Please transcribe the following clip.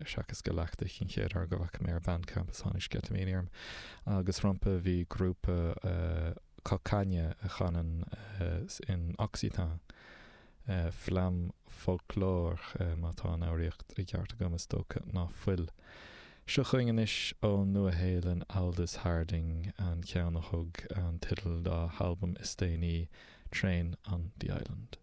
seachas go leachtach an chéad uair go bhfaca mé ar Bandcamp is tháinig sceitimíní orm. Agus rompu bhí grúpa Cocanha a chanann in Occitan, Flamme Folklore, má tá an fhoghraíocht i gceart agam, is dócha ná fuil. Seo chugainn anois ón Nua-Shéalainn Aldous Harding, an ceann a thug an teideal dá halbam is déanaí, Train on the Island.